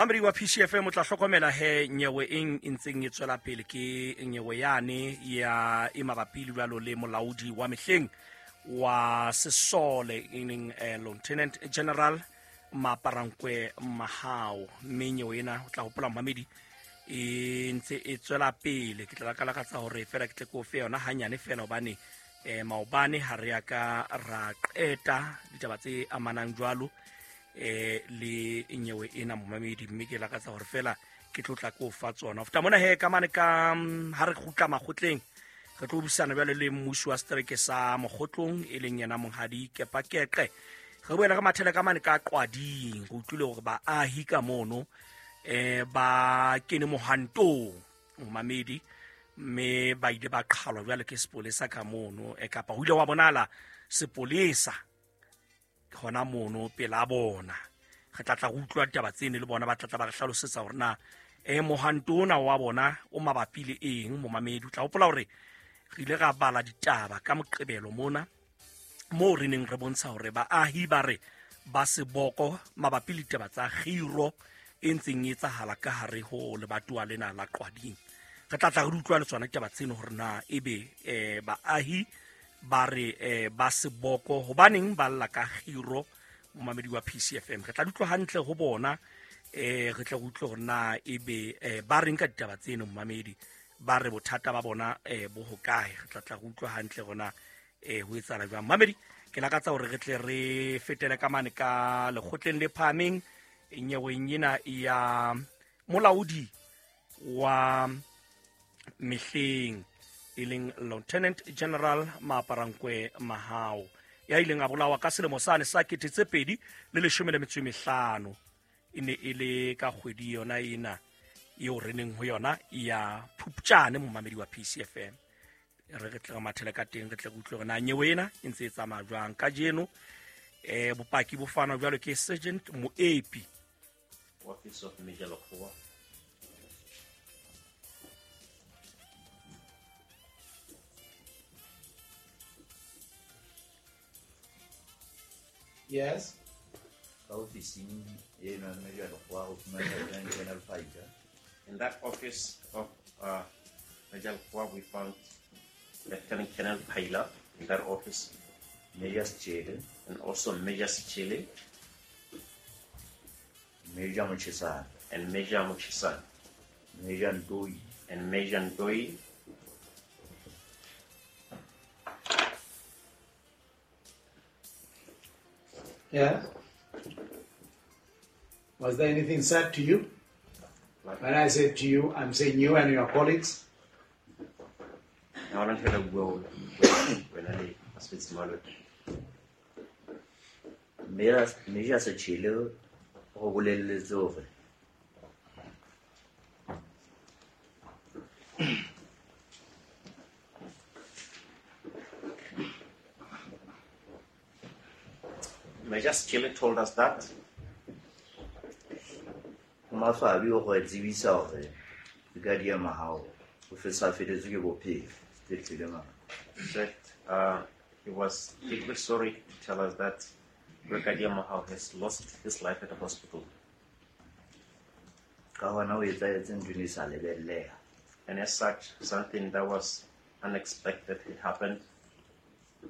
Mamedi wa PCFM, o tla hlokomela he nyewe eng e ntseng e tswela pele ke nyewe yane ya e mabapi le jwalo le molaodi wa mehleng wa sesole, e leng Lieutenant General Maparankwe Mahao. Mme nyewe ena, o tla hopola momamedi, e ntse e tswela pele. Ke tla lakalakatsa hore fela ke tle ke o fe yona hanyane fela, hobane maobane ha re ya ka ra qeta ditaba tse amanang jwalo le nyewe ena, momamedi. Mme ke lakatsa hore fela ke tlo tla ko fa tsona. Ho feta mona he, ka mane ka ha re kgutla makgotleng, re tlo busana jwale le mmusi wa setereke sa Mokgotlong, e leng yena monghadi Kepakeqe. Re boela re mathele ka mane ka Qwading. Re utlwile hore baahi ka mono ba kene mohantong, momamedi, mme ba ile ba qhalwa jwale ke sepolesa ka mono, kapa ho ile wa bonala sepolesa hona mono pela bona. Re tla tla re utlwa ditaba tsene le bona, ba tla tla ba re hlalosetsa hore na mohanto ona wa bona o mabapi le eng. Momamedi, o tla hopola hore re ile ra bala ditaba ka Moqebelo mona, moo re neng re bontsha hore baahi ba re ba seboko mabapi le ditaba tsa kgiro e ntseng e etsahala ka hare ho lebatowa lena la Qwading. Re tla tla re utlwa le tsona ditaba tseno hore na ebe baahi ba re ba seboko hobaneng ba lla ka kgiro. Momamedi wa PCFM, re tla di utlwa hantle ho bona, re tle re utlwe hore na ebe ba reng ka ditaba tseno. Momamedi, ba re bothata ba bona bo hokae? Re tla tla re utlwa hantle hore na ho etsahala jwang. Mamedi, ke lakatsa hore re tle re fetele ka mane ka lekgotleng le phahameng nyeweng ena ya molaodi wa mehleng, e leng Lieutenant General Maaparankwe Mahao, ya ileng a bolawa ka selemo sane sa 2015. E ne e le ka kgwedi yona ena eo re neng ho yona ya Phupjane. Momamedi wa PCFM, re tle re mathele ka teng, re tle re utlwe hore na nyewe ena e ntse e tsamaya jwang kajeno. Bopaki bo fanwa jwalo ke Sergeant Moepi. Office of Major Lekgowa. Yes. Ka ofising eno ya Major Lekgowa go fumana Lieutenant Colonel Fighter. In that office of Major Lekgowa, we found Lieutenant Colonel Paila in that office. Major Sechele. And also Major Sechele. Major Mochisane. And Major Mochisane. Major Ndoi. And Major Ndoi. Yeah. Was there anything said to you? When I said to you, I'm saying you and your colleagues. Na hona ntho e la bua wena le basebetsi mmoho le wena? Major Sechele go bolelletse hore Major Sechele told us that ho maswabi ho re tsebisa hore Brigadier Mahao o fetsa feletswe ke bophelo sepetlele mane. Said he was deeply sorry to tell us that Brigadier Mahao has lost his life at the hospital. Ka hona ho etsahetse ntho e ne e sa lebelleha. And as such, something that was unexpected had happened.